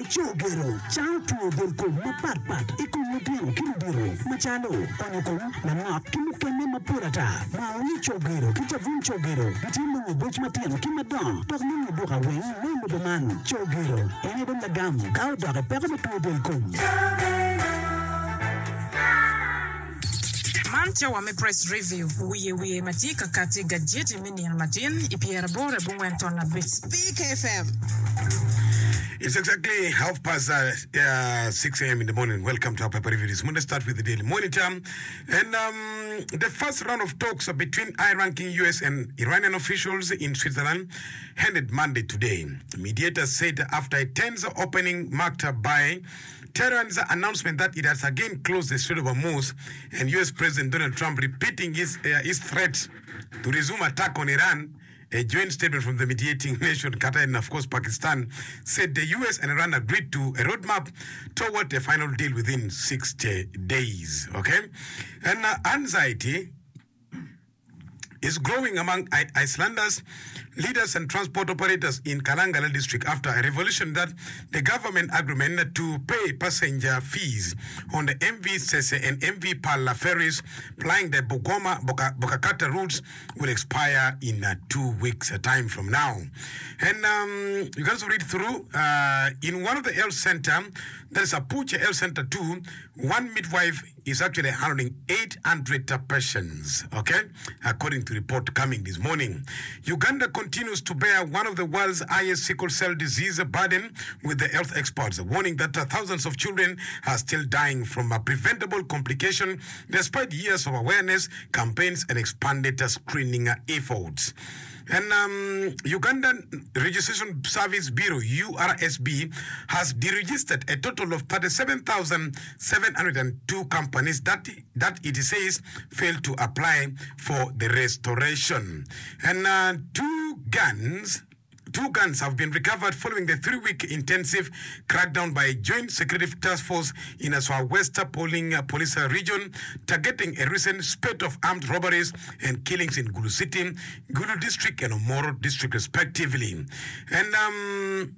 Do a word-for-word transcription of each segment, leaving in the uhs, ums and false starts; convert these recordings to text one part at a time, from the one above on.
Cogero cango two del kom mapatpat i kom lutino ki ludito macalo onyo kom langok ki mukene mapol ata. Nongo ni Cogero ki cabun Cogero gitye nongo boc matino ki madongo dok nongo duka weng me lobo man. Cogero en aye dong lagam ka odok i peko me two del kom. Man cawa me Press Review, wiye wiye ma tye ka kati i gajeti me nino matin i pyeraboro abongwen ton abic. Speak F M. It's exactly half past uh, uh, six a m in the morning. Welcome to our paper review this morning. Start with the Daily Monitor. And um, the first round of talks between high ranking U S and Iranian officials in Switzerland ended Monday today. Mediators said after a tense opening marked by Tehran's announcement that it has again closed the Strait of Hormuz and U S. President Donald Trump repeating his, uh, his threat to resume attack on Iran. A joint statement from the mediating nation, Qatar and of course Pakistan, said the U S and Iran agreed to a roadmap toward a final deal within sixty days. Okay? And uh, anxiety is growing among I- Icelanders, leaders and transport operators in Kalangala district after a revelation that the government agreement to pay passenger fees on the M V Sese and M V Pala ferries plying the Bugoma Boka, Bukakata routes will expire in uh, two weeks' uh, time from now. And um, you can also read through uh, in one of the health center, there is Apucha Health Center two, one midwife is actually handling eight hundred patients, okay, according to report coming this morning. Uganda continues to bear one of the world's highest sickle cell disease burden, with the health experts warning that uh, thousands of children are still dying from a preventable complication despite years of awareness campaigns and expanded uh, screening uh, efforts. And um, Ugandan Registration Service Bureau, U R S B, has deregistered a total of thirty-seven thousand seven hundred two companies that, that it says failed to apply for the restoration. And uh, two guns Two guns have been recovered following the three-week intensive crackdown by a joint security task force in Aswa West Polling uh, Police Region, targeting a recent spate of armed robberies and killings in Gulu City, Gulu District, and Omoro District, respectively. And um,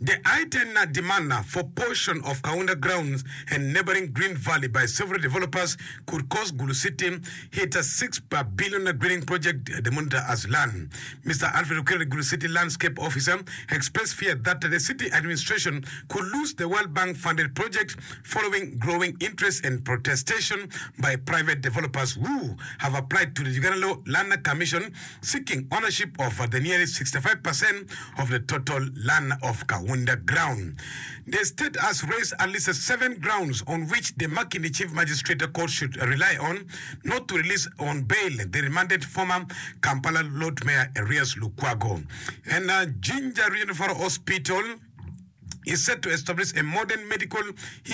the I ten demand for portion of Kaunda grounds and neighboring Green Valley by several developers could cause Gulu City hit a six billion greening project, the Monitor has learned. Mister Alfred Okello, Gulu City Landscape Officer, expressed fear that the city administration could lose the World Bank funded project following growing interest and protestation by private developers who have applied to the Uganda Land Commission seeking ownership of the nearly sixty-five percent of the total land of Kaunda ground. The state has raised at least seven grounds on which the Makindye Chief Magistrate Court should rely on not to release on bail the remanded former Kampala Lord Mayor Erias Lukwago. And uh, Jinja Regional Hospital is set to establish a modern medical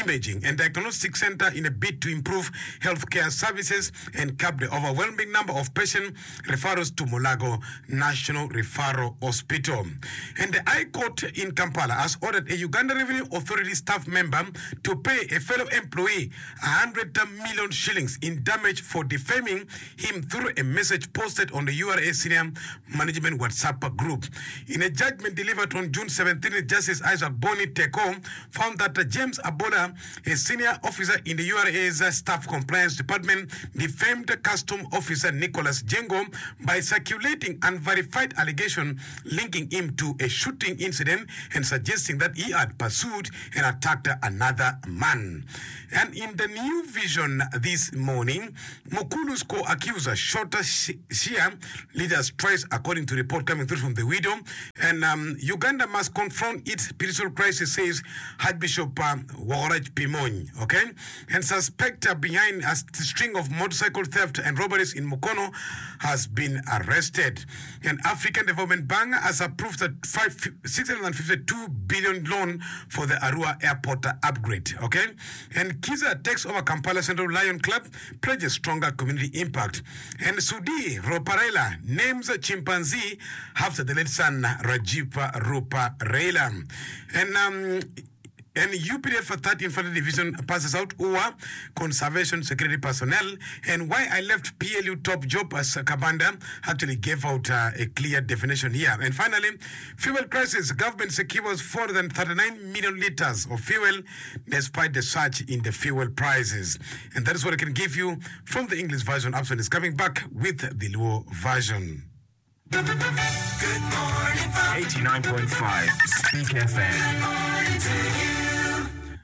imaging and diagnostic center in a bid to improve healthcare services and curb the overwhelming number of patient referrals to Mulago National Referral Hospital. And the High Court in Kampala has ordered a Uganda Revenue Authority staff member to pay a fellow employee one hundred million shillings in damage for defaming him through a message posted on the U R A Senior Management WhatsApp group. In a judgment delivered on June seventeenth, Justice Isaac Boni Teko found that James Abola, a senior officer in the U R A's Staff Compliance Department, defamed Custom Officer Nicholas Jengo by circulating unverified allegation linking him to a shooting incident and suggesting that he had pursued and attacked another man. And in the New Vision this morning, Mukulu's co-accuser shot Shia leaders twice, according to report coming through from the widow. And um, Uganda must confront its spiritual crisis, says Archbishop um, Wokorach Pimony. Okay? And suspect uh, behind a string of motorcycle theft and robberies in Mukono has been arrested. And African Development Bank has approved a five, six hundred fifty-two billion loan for the Arua Airport upgrade. Okay? And Kiza takes over Kampala Central Lion Club, pledges stronger community impact. And Sudhir Ruparelia names a chimpanzee after the late son Rajiv Ruparelia. And um, And U P D F third Infantry Division passes out U A conservation security personnel. And why I left P L U top job as Kabanda actually gave out uh, a clear definition here. And finally, fuel crisis. Government secures four hundred thirty-nine million liters of fuel despite the surge in the fuel prices. And that is what I can give you from the English version. Abson is coming back with the Luo version. Good morning, eighty-nine point five Speak F M. Good morning to you.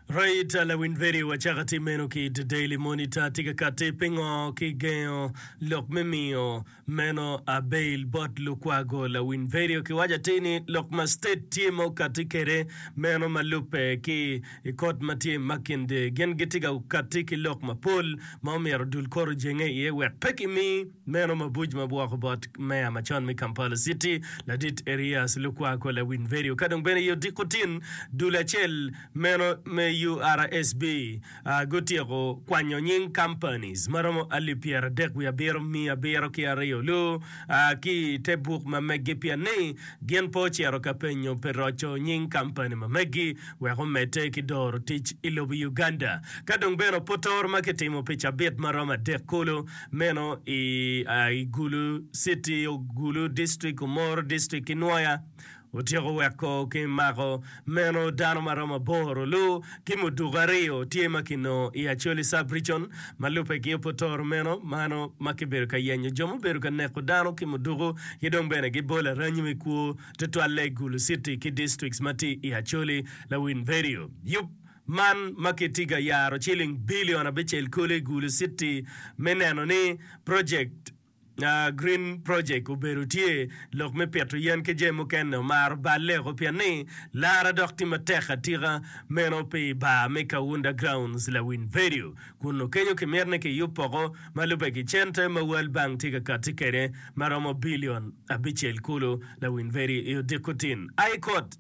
Right, lawin very wachaka ti meno ki The Daily Monitor tika kati pingo ki gengo lok me miyo meno a bail bot Lukwago. Lawin very ki waja tini lok ma state tye ma okati kede meno ma lupe ki i kot ma tye Makinde gin gitika okati ki lok mapol ma omyero dul koro jenge iye wek pe kimi meno mabuc ma bwoko bot meya macon me Kampala City ladit Erias Lukwago. Lawin very ka dong bene yo diko tin dul acel meno me U R S B uh, gutyeko kwanyo nying companies maromo alip pyera adek wiye abiro miya abiro ki aryo lu uh, ki te buk ma megi pien ni gin po ocito ka penyo pi roco nying company ma megi wek omedde ki doro tic i lobo Uganda. Ka dong bene opotor ma kitimo pi cabit maromo adek kulu meno i, uh, i Gulu City, Gulu District, Omoro District ki Nwoya otyeko weko ki mako meno dano maromo aboro lu ki muduku aryo tye ma kinongo i Acholi sub-region ma lube ki opotoro meno mano ma kibedo ka yenyo jo mubedo ka neko dano ki muduku ki dong bene gibolo aranyi me kwo tutwalle i Gulu City ki districts ma tye i Acholi. Lawin vedio yup man ma kitye ka yaro ciling bilion abicel kulu i Gulu City me neno ni project Uh, Green Project obedo tye lok me pito yen ki jami mukene omaro balle pien ni lara dok tye matek atika meno pi bar me Kaunda Grounds. Lawin vedio kun okenyo kimito ni kiyub poko ma lube ki cente ma World Bank tye ka kati kede maromo bilion abicel kulu. Lawin vedio i odiko tin High Court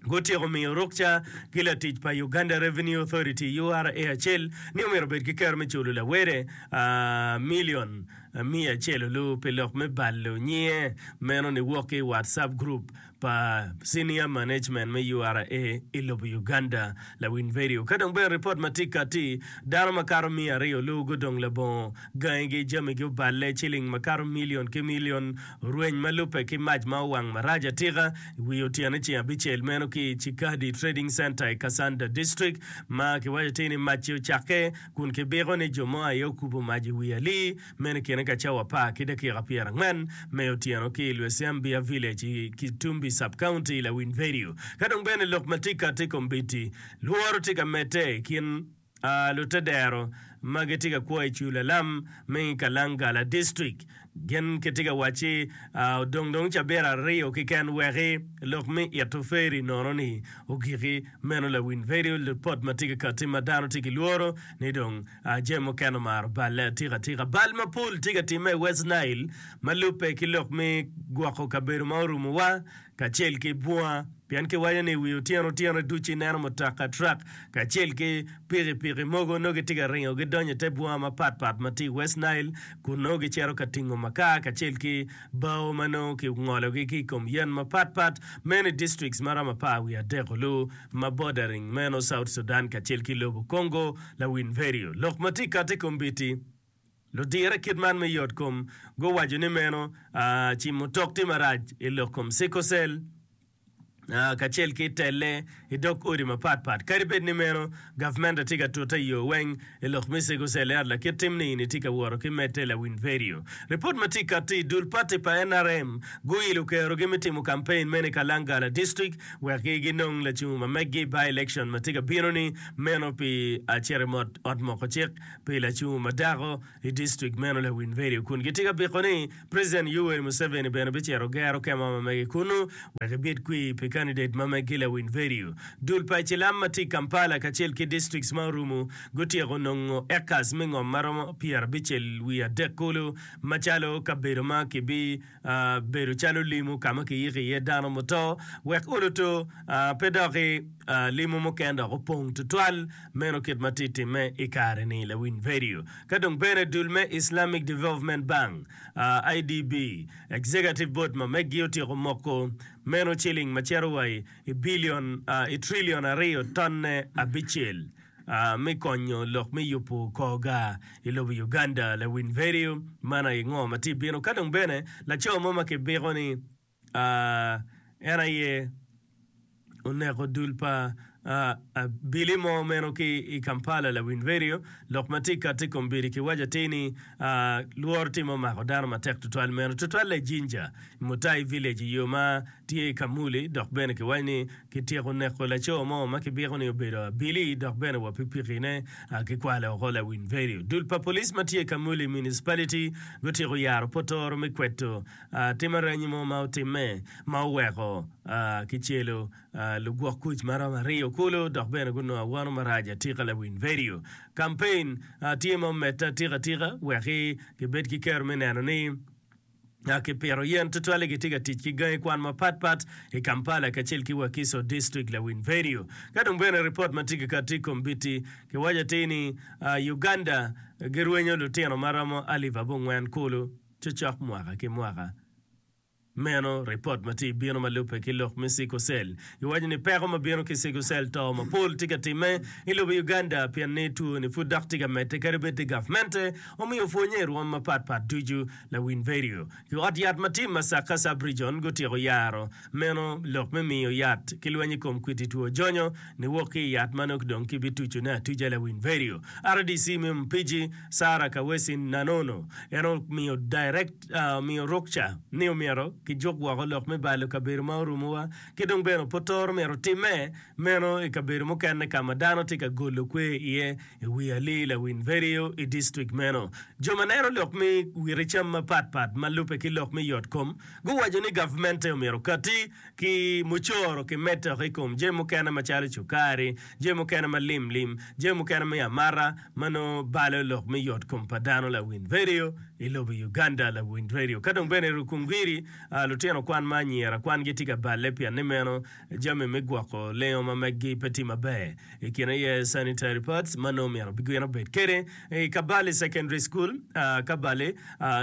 gutyeko miyo rukca ki latic pa Uganda Revenue Authority U R A acel ni omyero obed ki kero me culo lawere uh, milion miya acel olu pi lok me balo nyinge meno ni wok ki WhatsApp group pa senior management me U R A i lobo Uganda. Lawin vedio ka dong bene report ma tye kati dano makato miya aryo olu gudong labongo gangigi jamigi oballe ciling makato milion ki milion orweny ma lube ki mac ma owang marac atika wi otyeno ceng abicel meno ki Chikadi Trading Center i Kasanda District ma kiwaco tye ni mac-ci ocakke kun kibiko ni jo mo aye okubo mac i wi ali meno kine ka cawa apar ki dakika pyera angwen me otyeno ki i Lwesiambia Village i Kitumbi Sub-County. Lawin vedio ka dong bene lok ma tye kati kombeddi lworo tye ka medde i kin uh, lutedero ma gitye ka kwo i Culalam me Kalangala District. Gin kitye ka wacci uh, odong dong cabit aryo keken weki lok me ito feri nono ni ogiki meno. Lawin vedio report ma tye ka kati ma dano tye ki lworo ni dong uh, jami mukene omaro balle atika atika. Bal mapol tye ka timme i West Nile ma lube ki lok me gwoko kabedo ma orumowa kacel ki bunga pien kiwaco ni wi otyeno otyeno ducu ineno mutoka truck kacel ki pikipiki mogo nongo gitye ka ringo gidonyo i te bunga mapatpat ma tye i West Nile kun nongo gicito ka tingo makar kacel ki bao ma nongo kingologi ki i kom yen mapatpat meno i districts maromo apar wiye adek olu ma bordering meno South Sudan kacel ki lobo Congo. Lawin vedio lok ma tye kati kombeddi ludire kit man me yot kom guwaco ni meno uh, cimo tok tye marac i lok kom sickle cell Uh, kacel ki telle i dog odi mapatpat. Kadi bed ni meno gavmenta tye ka tute i yo weng i lok me sickle cell ento lakit tim ni ni tye ka woto ki medde. Lawin vedio report ma tye kati dul party pa N R M guilo kerogi me timo campaign meno i Kalangala District wek ginong lacungo ma meggi by election ma tye ka bino ni meno pi acito i ot moko cik pi lacungo ma dako i district meno. Lawin vedio kun gitye ka biko ni President Yoweri Museveni bene bicito gero kema ma megi kunu wek ebed kwi pi candidate ma megi. Lawin vedio dul pa Cilam ma tye i Kampala kacel ki districts ma orumo gutyeko nongo acres me ngom maromo pyera abicel wiye adek kulu macalo kabedo ma kibi uh, bedo calo limo kama kiyiko iye dano muto wek oluto uh, pe doki uh, limo mukene dok opong tutwal meno kit ma tye timme i kare ni. Lawin vedio ka dong bene dul me Islamic Development Bank uh, I D B Executive Board ma megi otyeko moko Meno ciling ma cito wa i bilion, i trilion aryo tonne abicel me konyo lok me yubo kor gar i lobo Uganda. Lawiny vedio man aye ngo ma tye bino. Ka dong bene laco mo ma kibiko ni en aye oneko dul pa abili mo meno ki i Kampala lawiny vedio lok ma tye kati i kom bidi kiwaco atir ni lworo tye ma omako dano matek tutwal meno tutwalle i Jinja Mutai village i yo ma tye i Kamuli dok bene kiwaco ni kityeko neko laco mo ma kibiko ni obedo abili dok bene wa pikipikine kikwalo oko lawiny vedio. Dul pa police ma tye i Kamuli Municipality gutyeko yaro potoro me kweto tim aranyi mo ma otimme ma oweko kicelo lugwok kuc ma romo aryo kulu dok bene gunongo awano marac atika lawiny vedio. Kampein tye ma omedde atika atika wek gibed ki kero me neno ni Kipito yen tutwalle gitye ka tic ki gangi kwan mapat pat i Kampala kacel ki Wakiso District lawiny vedio. Ka dong bene ripot ma tye ka kati i kom biti kiwaco atir ni Uganda girwenyo lutino ma romo alip abongwen kulu cocok mwaka ki mwaka. Meno ripot ma tye bino ma lubbe ki lok me sickle cell. Giwaco ni peko ma bino ki sickle cell to mapol tye ka timme i lobo Uganda pien ni two ni pud dok tye ka medde kadi bed ni gavmente omiyo pwonye i rwom mapat pat ducu. Lawiny vedio ki ot yat ma tye i Masaka Sub-Region gutyeko yaro meno lok me miyo yat ki lweny i kom kwiti two jonyo niwok ki i yat ma nongo dong kibitucone atuca. Lawiny vedio R D C me Mpigi Sarah Kawesi Nanono en omiyo direct omiyo rukca ni omyero kijuk woko lok me balo kabedo ma orumowa ki dong bene opotoro myero otimme meno i kabedo mukene ka ma dano tye ka golo kwer iye i wi alii lawiny vedio i distrik meno. Jo ma neno lok me witi cam mapat pat ma lubbe ki lok me yot kom guwaco ni gavmente omyero okati ki mucoro ki medde oko i kom jami mukene macalo cukari, jami mukene ma lim lim, jami mukene me amata ma nongo balo lok me yot kom pa dano lawiny vedio i lobo Uganda lawiny vedio. Ka dong bene i Rukungiri lutino kwan ma anyira kwangi tye ka balle pien ni meno jami me gwoko lengo ma meggi pe tye maber. I kine aye sanitary pads ma nongo myero gin obed kede. I Kabale Secondary School, Kabale,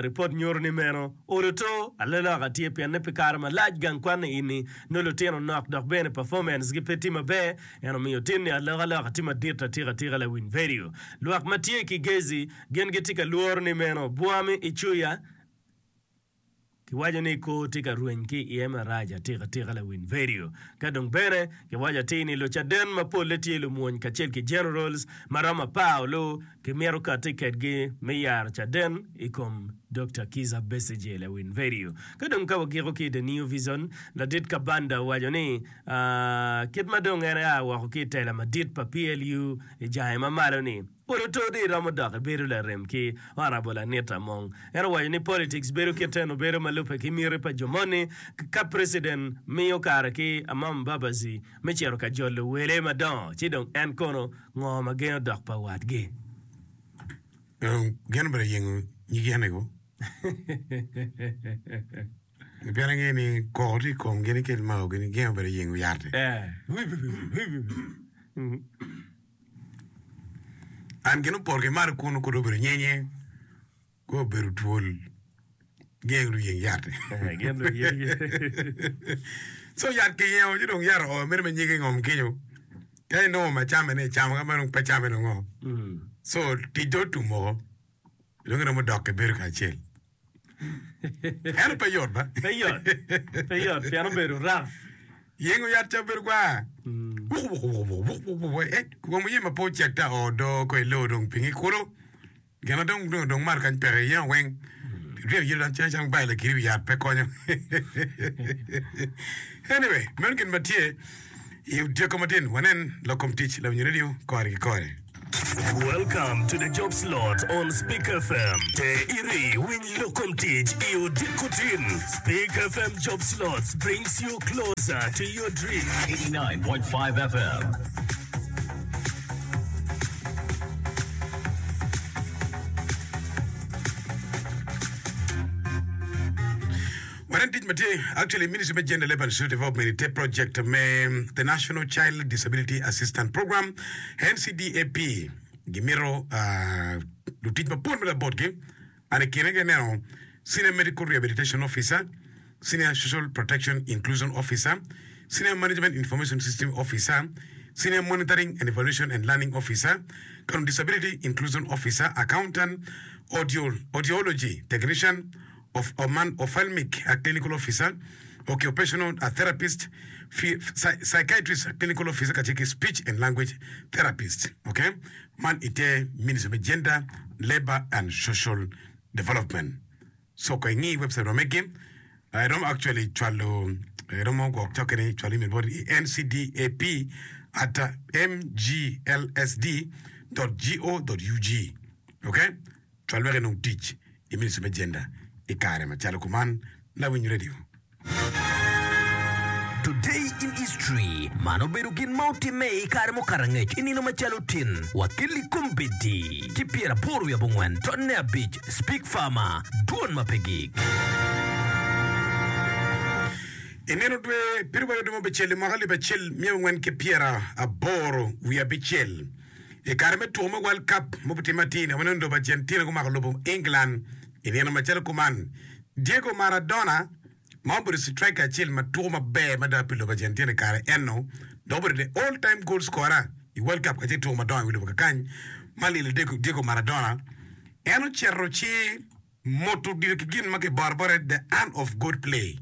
ripot nyuto ni meno olo to alaloka tye pien ni pi kare malac gang kwan ni ini nongo lutino nok dok bene performance gi pe tye maber. En omiyo tin ni alokaloka tye madit atika atika lawiny vedio. Lwak ma tye ki gezi gin gitye ka lworo ni meno bwami icuya. Kiwaco ni kor tye ka rweny ki iye marac atika tika lawiny vedio. Ka dong bene, kiwaco atir ni lucaden ma polle tye lumwony kacel ki generals ma romo apar olu kimito kati kedgi me yaro caden i kom Dokta Kizza Besigye lawiny vedio. Ka dong ka wagiko ki i The New Vision, ladit Kabanda owaco ni kit ma dong en ea woko ki i tela madit pa P L U i jange ma malo-ni, Olo to di iromo dok ibedo larem ki Honourable Anita Among. En owaco ni politics bedo kit eno bedo ma lubbe ki miti pa jo moni. Ka President miyo kare ki Amama Mbabazi me cito ka jolo wele madongo ci dong en kono ngo ma gengo dok pa watgi? Gin obedo yengo nyig yen-ni-gu. Pien angeyo ni koko tye i komgi ni kit maogi ni gin obedo yengo yat-ti. An gin opoto ki malo kunu kodi obedo nyenye, kodi obedo twol, gin luyeng yat. So yat kiyengo ci dong yat oo meno me nyige ngom kenyo. Ka inongo ma came ni icamo ka ma dong pe came dong ngo. So tic dong otum woko. Dong iromo dok ibedo kacel. Ento pe yot ba. Pe yot. Pe yot pien obedo rough. Yengo yat ca obedo gwar. Wuk wuk wuk wuk wuk wuk wuk eh kom oye ma pe ocek ta oo doo ko ilo dong pingi kulu. Gin ma dong dong dong malo kany peke yengo weng. Ryemo yelo dong cen cen bayo lakiri wi yat pe konyo. Anyway, meno gin ma tye i odyeko matin wanen lok kom tic lawinyo radio kore ki kore. Welcome to the job slot on Speak F M. Te iri winy lok kom tic i odiko tin. Speak F M Job Slots brings you closer to your dream. eighty-nine point five F M. Wanen tic ma tye actually Ministry me Gender, Labour and Social Development i te project me the National Child Disability Assistance Program, N C D A P, gimito uh, lutic mapol me labotgi and i kine gineno Senior Medical Rehabilitation Officer, Senior Social Protection Inclusion Officer, Senior Management Information System Officer, Senior Monitoring and Evaluation and Learning Officer, ka dong Disability Inclusion Officer, Accountant, Audio, Audiology Technician, of, man, Ophthalmic Clinical Officer, Occupational Therapist, Psychiatrist Clinical Officer kacel ki Speech and Language Therapist. Okay? Man ite Ministry me Gender, Labor and Social Development. So ka ingi website ma megi, iromo actually cwalo iromo gwok cokke ni cwalo email bot i ncdap at mglsd dot go dot ug. Okay? Cwal wek inong tic i Ministry me Gender i kare macalo kuman. Lawiny Radio. Today in History, Man obedo gin ma otimme i kare mukato angec i nino macalo tin wa ki kombeddi ki pyeraboro wiye abongwen tonne abic Speak Farmer, Dwon ma pe gik. I nino dwe pyeraryo dwe me abicel i mwaka alip acel miya angwen ki pyeraboro wiye abicel, i kare me tuko me World Cup ma obitimme atir-ni, waneno lobo Argentina gumako lobo England i nino macalo kuman. Diego Maradona ma obedo striker acel ma tuko maber mada pi lobo Argentina i kare eno, dok obedo the all time goal scorer i World Cup kacel ki tuko madongo i wi lobo kakany ma lilo Diego Maradona. En ocito ci moto odilo ki gin ma kiboro bote the hand of God play.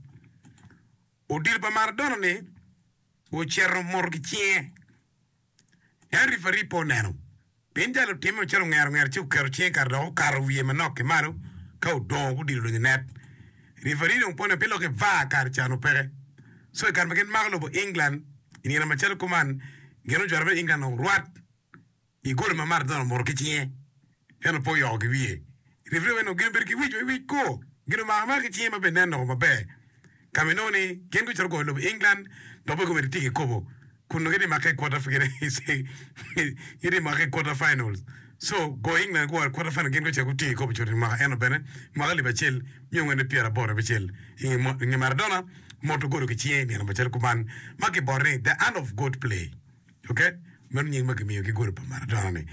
Odilo pa Maradona ni ocito moto ki cinge. En referee pe oneno. Pien jal otimme calo ongero ongero ci oketo cinge kare dok okato wiye manok ki malo ka odongo gudilo odonyo i net. Referee dong pe oneno pien lok ki VAR kare ca onongo peke. So i kare ma gin mako lobo England i nino macalo kuman, gin ojwero me England orwat i goli ma Maradona omoto ki cinge ento pe oyoko ki wiye. Referee owaco ni gin obedo ki wic ma wic kur, gin omako amaka ki cinge ma bene nen loko maber. Ka ma inongo ni gin gucito goyo lobo England dok bene gumedde tye ki kobo kun nongo gitye make i quarter gitye make i quarter finals. So goyo England guworo i quarter final gin gucito gutingo kikopo cut i mwaka eno bene mwaka alip acel miya angwen ki pyeraboro abicel i nge Maradona moto golo ki cinge i nino macalo kuman ma kiboro ni the hand of God play. Okay? Meno nying ma kimiyo ki golo pa Maradona ni.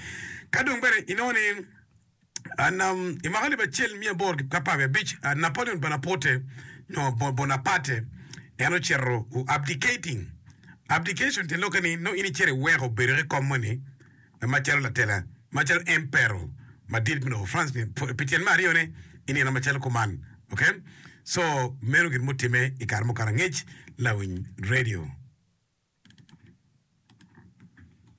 Ka dong bene inongo ni I mwaka alip acel miya aboro ki apar wiye abic, Napoleon Bonaparte, nyo Bonaparte, en ocito abdicating. Abdication tyen lokke ni nongo in icito iweko bedo ki kom moni macalo latela, macalo emperor madit me lobo France pi tyen me aryone i nino macalo kuman. Okay? So, meno gin mutimme i kare mukato angec, lawiny radio.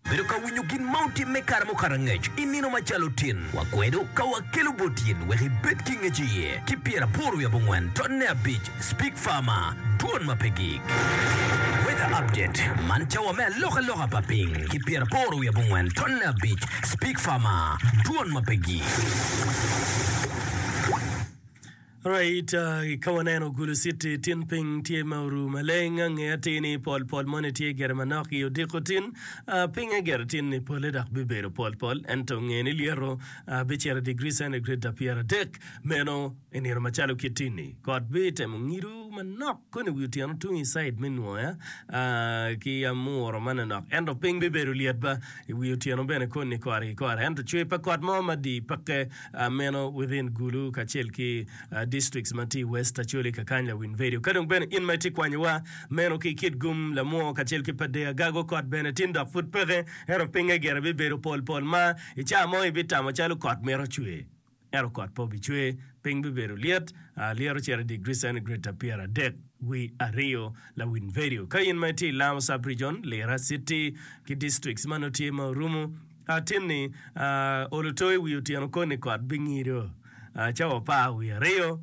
Bedo ka winyo gin ma otimme kare mukato angec i nino macalo tin, wakwedo ka wakelo bot in wek ibed ki ngec iye ki pyeraboro wiye abongwen tonne abic Speak Farmer, Dwon ma pe gik. Weather Update, Man cawa me alokaloka pa piny ki pyeraboro wiye abongwen tonne abic Speak Farmer, Dwon ma pe gik. Alright, ka waneno Gulu City tin piny tye ma oru maleng, ange atir ni pol pol moni tye gire manok i odiko tin. Pinye gire tin ni pole dok bibedo pol pol, ento nge ni lyeto bicito i degree centigrade pyeradek. Meno i nino macalo kit tin-ni. Kot bitemo ngido manok koni wi otyeno tung i cide me Nwoya ki Amuro manonok, ento piny bibedo lyet ba i wi otyeno bene koni kore ki kore. Ento cwer pa kot mo madii peke. Meno within Gulu kacel ki districts ma tye i West Acholi kakany lawiny vedio. Ka dong bene in ma itye kwanyowa meno ki Kitgum, Lamwo kacel ki Padea Gago kot bene tin dok pud peke ento pinge gire bibedo pol pol ma i caa mo ibitamo calo kot mito cwer ento kot pe obicwer piny bibedo lyet lyeto cito i degree centigrade pyeradek wi aryo lawiny vedio. Ka in ma itye i Lango sub region, Lira city ki districts ma nongo tye ma orumo Atin-ni olo to i wi otyeno koni kot bingido cawa apar wiye aryo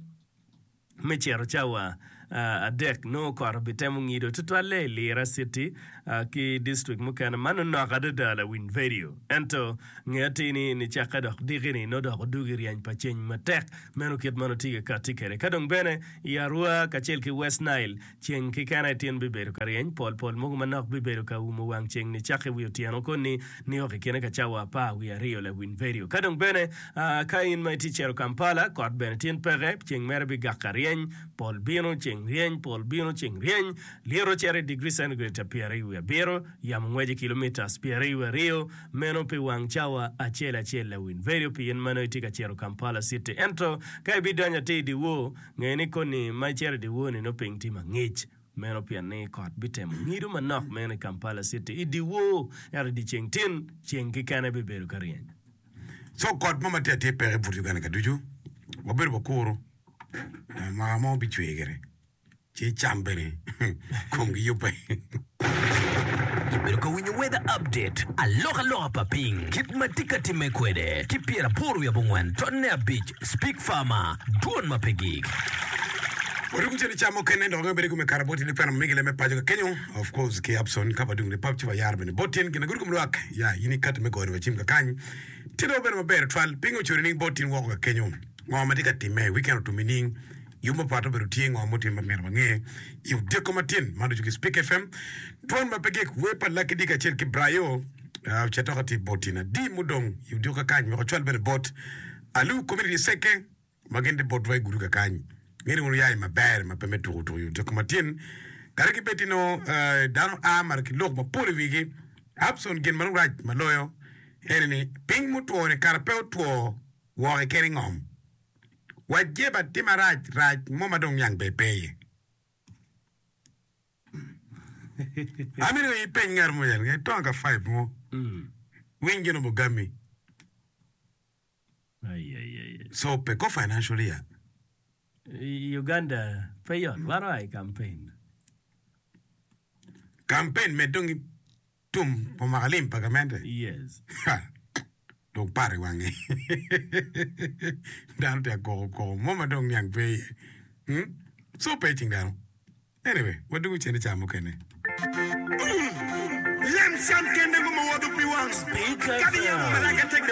me cito cawa adek nongo kot obitemo ngido tutwalle i Lira City ki distrik mukene ma nongo nok adada lawiny vedio. Ento nge atir ni nicakke dok diki-ni nongo dok odugi ryeny pa ceng matek meno kit ma nongo tye ka katti kwede. Ka dong bene i Arua kacel ki West Nile Ceng keken aye tin bibedo ka ryeny, pol pol mogo manok bibedo ka umo wang ceng nicakke wi otyeno koni nio ki kine ka cawa apar wiye aryo lawiny vedio. Ka dong bene, ka in ma itye cito Kampala, kot bene tin peke, ceng mere bigak ka ryeny, pol bino, ceng ceng ryeny, pol bino, ceng ryeny, lyeto cito i digri centigrade pyeraryo wiye abiro, yamo ngweco i kilomitas pyeraryo wiye aryo, meno pi wang cawa acel acel lawiny vedio pi in ma nongo itye ka cito Kampala City. Ento ka ibidonyo atir i dyewor, nge ni koni ma icito i dyewor-ni nongo piny tye mangic. Meno pien ni kot bitemo ngido manok meno i Kampala City i dyewor, ento i dyeceng tin, ceng kekene bibedo ka ryeny. Co kot mo ma tye atir peke i but Uganda ka ducu. Wabedo wakuru mwaka mo bicwer gire ci cam bene komgi yubbe. Ibedo ka winyo Weather Update, alokaloka pa piny, kit ma tye ka timme kwede, ki pyeraboro wiye abongwen tonne abic, Speak Farmer, dwon ma pe gik. Waruko cen i cam mukene dok nongo bedo i kome kare bot in ikwena ma migi leme paco ka kenyo of course ki Abson ka wadung lipap ci wayaro bene bot in gin agudo kom lwak ya in ikati me goyo wa cim kakany tye dong bedo maber twal piny ocuri ning bot in woko ka kenyo ngo ma tye ka timme weekend otum nining yub mapat obedo tye ngo mutimme ma myero wange i odiko matin man ducu ki Speak F M dwon ma pe gik wer pa Lucky D kacel ki Brayo ocito tye bot in adi mudong i odiko kakany wek ocwal bene bot Alu community seke ma gin tye botwa i gudo kakany. Ngene wunu yaye maber ma pe me tuko tuko i odiko matin. Kadi ki bed nongo dano a malo ki lok mapol i wigi, Abson gin ma dong rac ma loyo ene ni piny mutwo-ni kara pe otwo woko keken i ngom. Wa jeba tye marac rac mo ma dong niang ber pe iye. Amito ni ipeny ngat mo en, itongo ka five mo, winy gin obogami. So peko financially ya. I Uganda pe yot wan oa i campaign. Campaign med dong tum omako alim pa gamente. Yes. Dong par i wange. Dano tye akoko koko mo ma dong niang pe iye. Hmm? So pe icing dano. Anyway, wadwogo cen i cawa mukene. Lem cam kende ngo ma woto pi wang. Speak Kadi yamo F M. malaika tek